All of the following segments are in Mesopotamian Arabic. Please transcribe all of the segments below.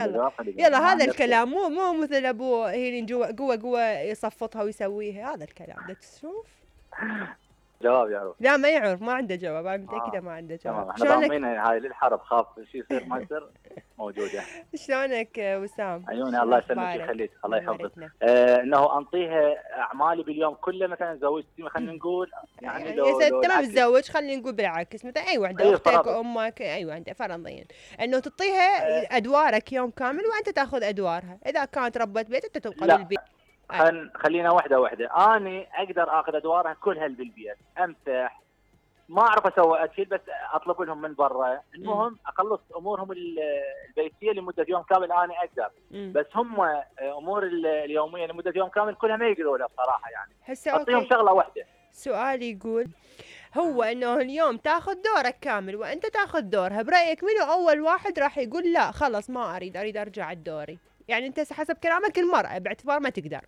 يلا يلا، هذا الكلام مو مثل ابو هيلين جوا قوة يصفطها ويسويها، هذا الكلام ده تشوف. جواب يعرف؟ لا ما يعرف، ما عنده جواب، انا متأكدة ما عنده جواب. احنا ضامنينها هاي للحرب، خاف شيء يصير ما يصير موجودة. شلونك وسام؟ عيوني الله يسلمك ويخليك، الله يحفظك. انه انطيها اعمالي باليوم كله، مثلا زوجتي خلينا نقول يعني لو تمام تتزوج خلينا نقول بالعكس، مثلا اي وحده اختك امك ايوه انت فرضيا انه تعطيها ادوارك يوم كامل وانت تاخذ ادوارها، اذا كانت ربة بيت انت تبقى بالبيت. خلينا وحده اني اقدر اخذ ادوارها كلها بالبيت، امسح ما اعرف اسوي اكل بس اطلب لهم من برا، المهم اخلص امورهم البيتيه لمده يوم كامل انا اقدر. بس هم امور اليوميه لمده يوم كامل كلها ما يقدروا لها بصراحه، يعني اعطيهم شغله واحده. سؤالي يقول هو انه اليوم تاخذ دورك كامل وانت تاخذ دورها، برايك منو اول واحد راح يقول لا خلص ما اريد ارجع الدوري؟ يعني انت حسب كلامك المراه باعتبار ما تقدر.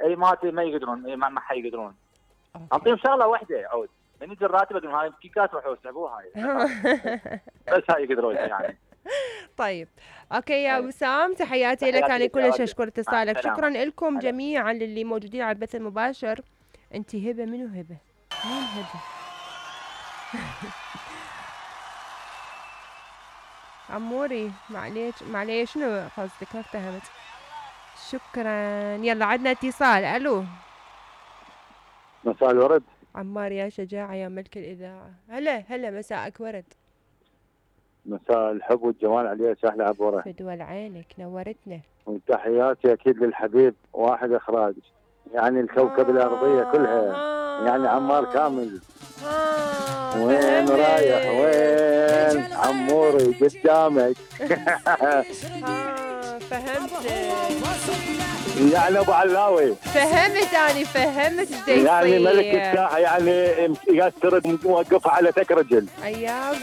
اي ما يقدرون، ما حيقدرون. اعطيهم شغله واحده يعود من يجي الراتب اقول هاي كيكات روحوا اسحبوها بس هاي يقدرون يعني. طيب اوكي يا وسام، تحياتي لك، انا كلش اشكر اتصالك. شكرا لكم جميعا للي موجودين على البث المباشر. انت هبه، منو هبه؟ مين هبه؟ عموري معليش شنو قصدك؟ ما فهمت. شكرا. يلا عندنا اتصال. الو، مساء الورد. عمار يا شجاعة يا ملك الإذاعة. هلا مساءك ورد. مساء الحب والجمال عليا سهلة عبورة. فدول عينك، نورتنا. وتحياتي أكيد للحبيب واحد إخراج، يعني الكوكب الأرضية كلها، يعني عمار كامل. وين رايح وين عموري قدامك. فهمت يعني ابو علاوي، فهمت ايش يعني ملك الساحه، يعني قاعد ترد موقفها على تك رجل. اياب